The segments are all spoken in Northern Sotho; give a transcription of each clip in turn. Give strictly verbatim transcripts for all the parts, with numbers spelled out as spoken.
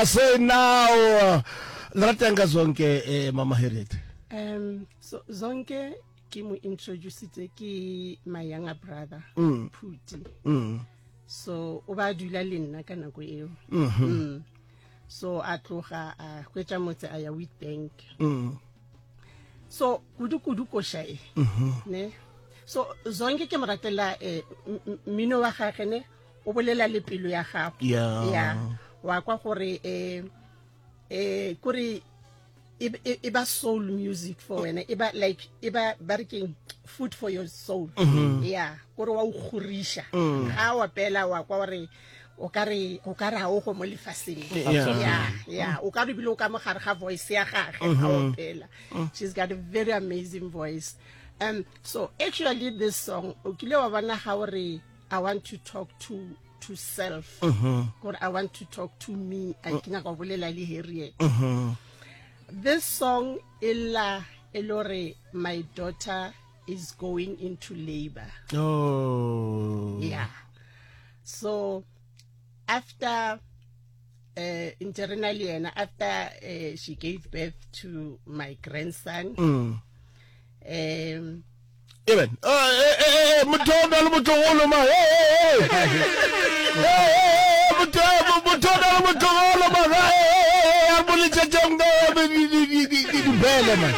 say now. Le ratang ka Zonke, eh, Mama Harriet? Um so Zonke ke mo introducitse ke my younger brother, Mm. Phuti. Mm. So o ba dula le nna ka nako eo. Mhm. Mm. So a tloga a hwetša motse, a ya Witbank. Mm. So kudu kudu koša e. Mhm. Ne. So Zonke ke mo ratela eh, m- m- mmino wa gagwe, ne, o bolela le pelo ya gago. Yeah. Ya. Wa kwa gore eh eh kore e e- e ba soul music for wena, e ba like, e ba ba re keng, food for your soul. Mhm. Yeah, kore wa o kgoriša Mm. ga wa pela, wa kwa gore o ka re o ka re ha o go mo lefaseng. Yeah. Yeah, yeah, o ka re bile o ka mogare ga voice ya gage ga o Mhm. pela. She's got a very amazing voice. um so actually this song, o kile wa bona ga o re, "I want to talk to to self," Mhm. gore I want to talk to me, a ke nyaka go bolela le Harriet. Mhm. This song e lla e le gore my daughter is going into labor. Oh. Yeah, so after uh ntse re na le yena, after uh, she gave birth to my grandson, Mm. um Eben. Eh eh eh motho o na le motlogolo ma. Eh eh eh. Eh eh motho motho o na le motlogolo ma. Eh eh eh a mo letšetšeng di di di di di bele man.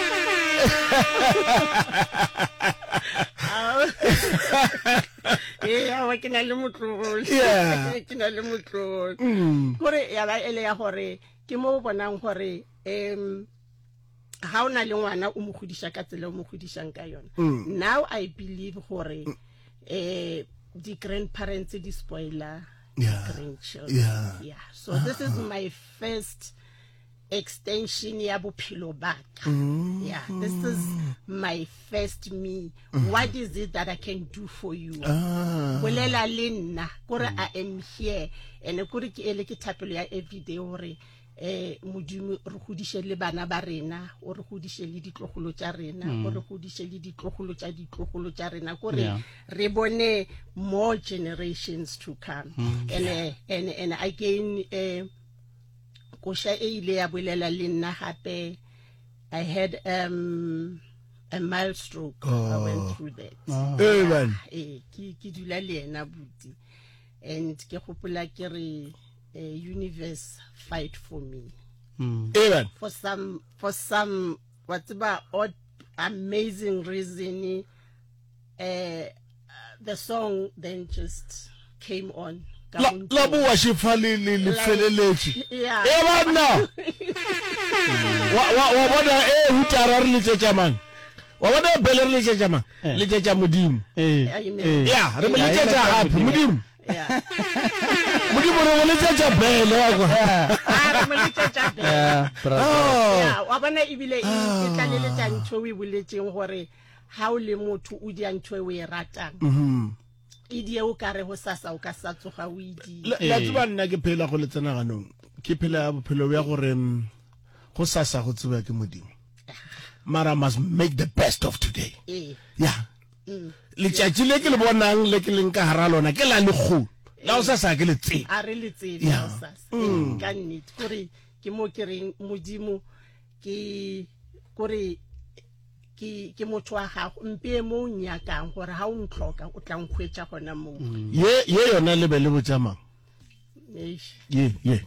Ee, awa, ke na le motlogolo. Yeah. Ke na le motlogolo. Mm. Kore ya ba ele ya gore ke mo o bonang gore um ga o na le ngwana, o mo godiša ka tsela o mo godišang ka yona. Mm. Now I believe gore um di-grandparents di spoiler Yeah. grandchildren. Yeah. Yeah, so this is my first extension ya bophelo baka. Mm. Yeah, this is my first me. What is it that I can do for you? Ah. Bolela le nna, kore I am here. And kore ke ele ke thapelo ya everyday gore eh Modimo re godiše le bana ba rena, o re godiše le ditlogolo tša rena, o re godiše le ditlogolo tša ditlogolo tša rena, kore Yeah. re bone more generations to come. and eh, and and again, eh koša e ile ya bolela le nna gape. I had um a mild stroke. I went Oh. through that. Eh man. Ee, ke ke dula le yena buti, and ke gopola ke re, eh, universe, fight for me. Eh man. For some for some wa tseba, odd amazing reason, eh the song then just came on ka La mo la ntlong. boa šifa le le le Like- feleletše. Yeah. E banna. Wa wa wa bona e hutara re letšetša mang? Wa bona e bele re letšetša mang? Eh. Letšetša Modimo. Eh, Amen. eh. Ya, re mo Yeah, letšetša e gape Modimo. Yeah. Modimo re mo letšetša bele wa kwa. A re mo letšetša bele. Yeah, brother. Oh. Ya, wa bona ebile e e tlaleletša ntho e o e boletseng gore ha o le motho o dia ntho e o e ratang, Mhm. e die o ka re go sasa o ka sa tsoga o e die. La la tseba nna ke phela go le tsenaganong. Ke phela bophelo bja gore mm, go sasa go tseba ke Modimo. Mara must make the best of today. Ee. Ya. Letšatši le ke le bonang le ke leng ka hara lona ke la lekgolo. La go sasa ke le tsebe. A re le tsebe Yeah. la sasa. Ee, ka nnete, kore ke mo ke reng Modimo ke kore ke ke motho wa gago, mpee mo o nyakang gore ha o ntlhoka o tla nkhwetša gona moo. Ye ye yona le be le botša mang? Eish. Ye ye.